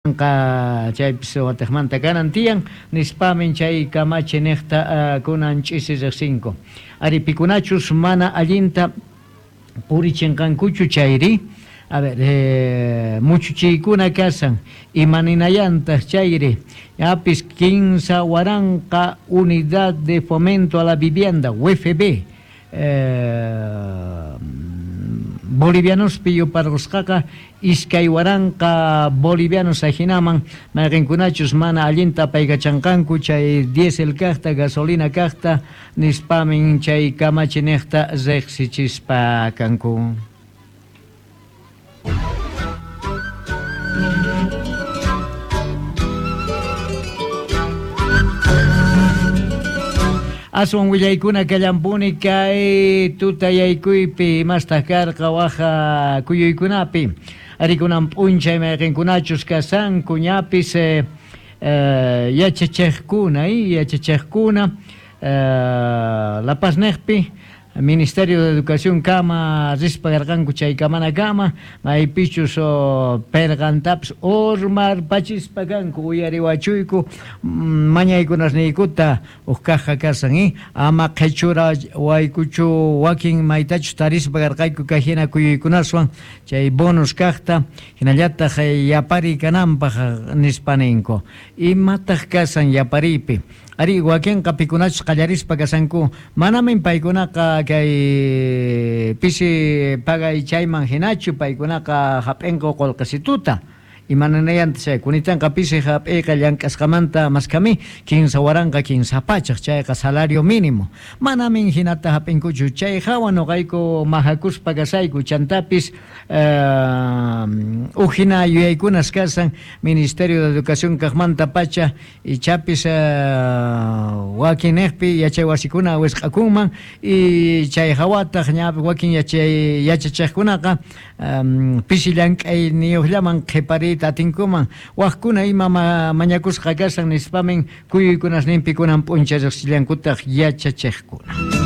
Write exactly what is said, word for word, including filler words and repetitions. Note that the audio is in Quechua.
Chaypis watiqmanta kanan tiyan nispamin chay kamachi niqta kunan ch'isi riqsinku ari pikunachus mana allinta purichinqankuchu chayri a ver eh, muchuchiykuna kasan imaninayantaq chayri yapis kinsa waranqa unidad de fomento a la vivienda U F B eh, bolivianospi yuparqusqaqa iskay waranqa bolivianos ajinaman mayqinkunachus mana allinta apaykachanqanku chay diésel kaqta gasolina kaqta nispamin chay kamachi niqta riqsichispa kanku. Aswan willaykuna kallampuni kay tutayaykuypi imastaq karqa waja kuyuykunapi arikunan p'unchay mayqinkunachus kasanku ñapis eh, eh, yachachiqkuna yachachiqkuna eh, La Paz niqpi Ministerio de Educación kama rispa karqanku chay kamana kama maypichus perqantapis urmarpachispa kanku uyariwachuyku mañaykunasniykuta huk kaqqa kasan eh ama qhichura waykuchu wakin maytachus tarispa karqayku kay hina kuyuykunaswan chay bonus kaqta hinallataq yapariy kananpaq nispa ninku imataq kasan yapariypi ari wakinqa pikunachus qallarispa kasanku manamin paykunaqa kay pisi pagay chayman hinachu paykunaqa hap'inku qullqisituta imananayanta chay kunitanqa pisi hap'iyqa llank'asqamanta maskami kinsa waranqa kinsa pachaq chayqa salario mínimo manamin hinata hap'inkuchu chay hawa nuqayku mahakuspa kasayku chantapis eh, huk hina yuyaykunas kasan Ministerio de Educación kaqmanta pacha ichapis eh, wakin niqpi yachay wasikuna wisq'akunman y chay hawataq ña wakin yachay yachachiqkunaqa um, pisi llank'ayniyuqllaman qhipariyta atinkuman waqkuna ima ma, mañakusqa kasan nispamin kuyuykunasninpi kunan p'unchay riqsillankutaq yachachiqkuna.